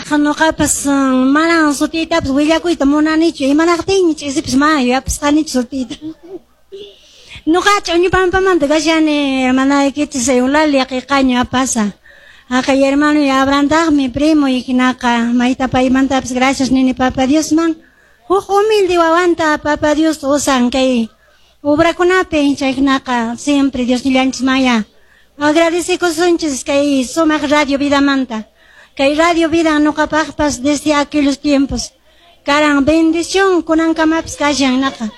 Hinaqa noqapas manan sutiytapas willakuyta munanichu, imanaqtinmi ch'isipis mana yuyapasqanichu sutiyta. Noqa Ch'uñupampamanta kashani, hermanaykichis Eulalia Qiqaño apasa. Haqay hermano Abrahantaqmi primo y hinaqa mayta paymantapas gracias nini Papa Diosman. Huk humilde wawanta Papa Dios usan kay obrakunapi, chay hinaqa siempre Dios nillanchis maya. Agradecekusunchis kay sumaq Radio Vidamanta. Kay Radio Vida noqapaqpas desde aquellos tiempos. Karan bendición kunankamapas kashan naqa.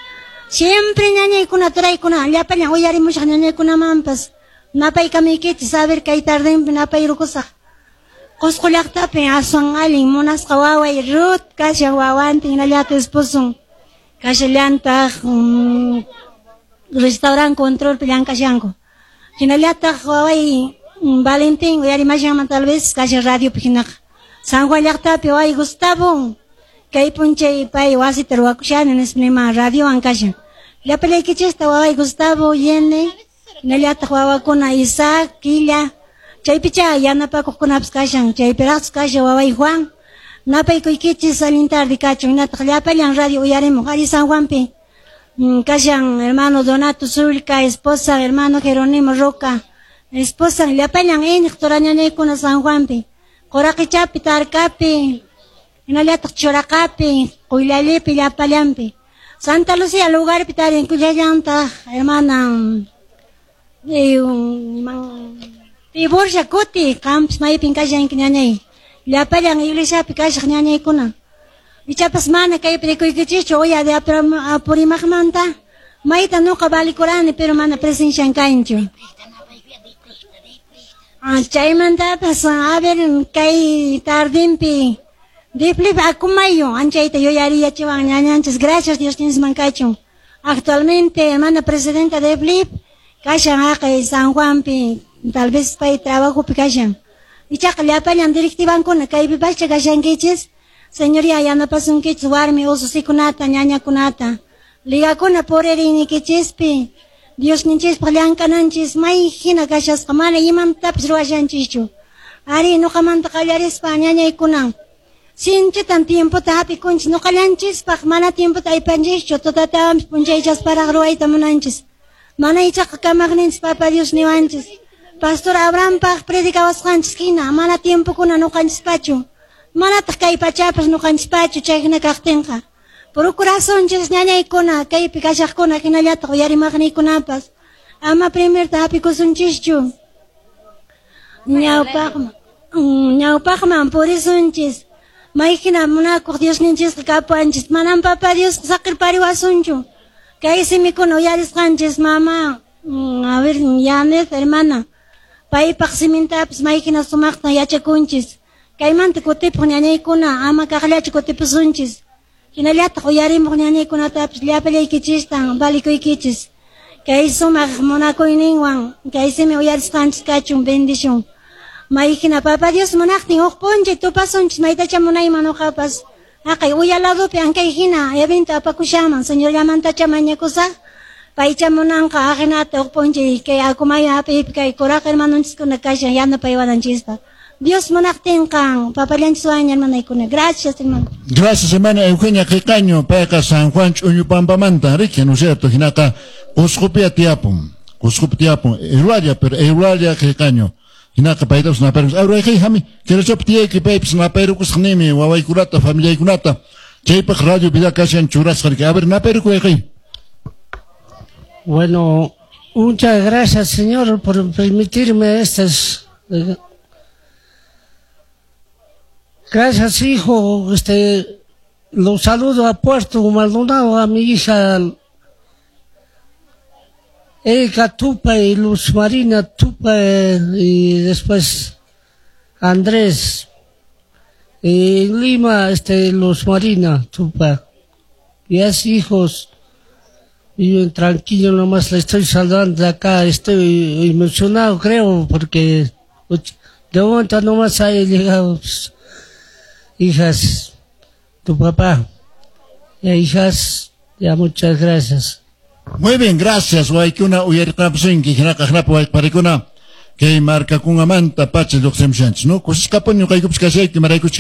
Siempre ñañaykuna turaykuna llapallan uyarimushaq ñañaykunamanpas napaykamaykichis a ver kay tardinpi napayrukusaq. Qusqu llaqtapi aswan allin munasqa waway Ruth kashan wawantin hinallataq esposon kashallantaq restaurant controlpi llank'ashanku. Hinallataq waway Valentín uyarimashanman tal vez kashan radiopi hinaqa. San Juan llaqtapi waway Gustavo kay p'unchay pay wasita ruwakushani nispa nima radiowan kashan. Llapallaykichista waway Gustavo Yene hinallataq wawakuna Isaac, Quilla, chaypicha yanapakuqkunapas kashan, chaypiraqchus kashan waway Juan. Napaykuykichis allin tarde kachun, hinataq llapallan radio uyarimuq alli San Juanpi. Kashan hermano Donato Zulca, esposa hermano Jerónimo Roca, esposa llapallan iñiq turañañaykuna San Juanpi. Quraqichapi, Tarcapi, hinallataq Churaqapi, Quyllallipi, llapallanpi. Santa Lucía lugarpi tarinkullallantaq hermana Tiburcia Kuti, qampas maypin kashanki ñañay. Llapallan iglesiapi kashaq ñañaykuna. Ichapas mana kaypi rikuykichischu uya de Apurimaqmanta mayta nuqa valikurani pero mana presencian kanchu. Chaymantapas a ver kay tardinpi Diflip Acomayo anchayta yuyariyachiwan ñañanchis gracias Dios nisman kachun. Actualmente hermana presidenta de Flip kashan haqay San Juanpi tal vez pay trabajopi kashan. Ichaqa llapallan directivankuna kaypi pacha kashankichis. Señoría yanapasunkichis warmi ususikunata ñañakunata. Ligakuna puririnykichispi Diosninchispaq llank'ananchis may hina kashasqa mana imantapis ruwashanchischu. Ari nuqamanta qallarispa ñañaykuna. Sinchitan tiempota hap'ikunchis nuqallanchispaq mana tiempota aypanchischu tutatawanpis p'unchaychasparaq ruwayta munanchis. Mana ichaqa kamaqninchis Papa Dios niwanchis. Pastor Abrahampaq predicawasqanchis hina mana tiempokuna nuqanchispachu. Manataq kay pachapas nuqanchispachu chay hina kaqtinqa. Procurasunchis ñañaykuna kaypi kashaqkuna hinallataq uyarimaqniykunapas. Ama primerta hap'ikusunchischu. Ñawpaqman ñawpaqman purisunchis. May hina munakuq Diosninchisqa kapuwanchis. Manam Papa Dios saqirpariwasunchu. Kay simikuna uyarisqanchis mama, a ver, Yanet hermana. Paypaq simintapas may hina sumaqta yachakunchis. Kaymanta kutipuq ñañaykuna ama kaqllachu kutipusunchis. Hinallataq uyarimuq ñañaykunatapas llapallaykichistan valikuykichis. Kay sumaq munakuyninwan kay simi uyarisqanchis kachun bendición. May hina Papa Dios munaqtin huk p'unchay tupasunchis maytacha munayman nuqapas. Haqay uya ladopi ankay hina evento apakushanman Señorllamantacha mañakusaq. Paycha munanqa ajinata huk p'unchay kay Acomayo hap'iypi kay kuraq hermanonchiskuna kashan yanapaywananchispaq. Dios munaqtinqa papallanchiswan hermanaykuna. Gracias, hermano. Gracias, hermana Eugenia Qiqaño, payqa San Juan Ch'uñupampamanta, riki, ¿no es cierto? Hinaqa Qusqupi tiyapun, Qusqupi tiyapun, Eulalia, pero Eulalia Qiqaño. Hinaqa paytapas napayrukus. Awrayqi hami, kirachapi tiyayki paypis napayrukusaq nimi wawaykunata, familiaykunata. Chaypaq Radio Vida kashan churasqa riki. A ver, napayrukuy. Bueno, muchas gracias, Señor, por permitirme estas. Gracias, hijo. Lo saludo a Puerto Maldonado, a mi hija Erika Tupa y Luz Marina Tupa, y después Andrés. Y en Lima, Luz Marina Tupa. Y así, hijos, viven tranquilo, nomás le estoy saludando de acá. Estoy emocionado, creo, porque de momento nomás ha llegado, pues, hijas, tu papá. Y hijas, ya muchas gracias. Muy bien, gracias, waykuna uyariqnapusunki, hinaqa hinapi wayqparikuna kay markakunamanta pacha lluqsimushanchis, no? Kusisqapuni ñuqaykupas kashayki, maraykuchik.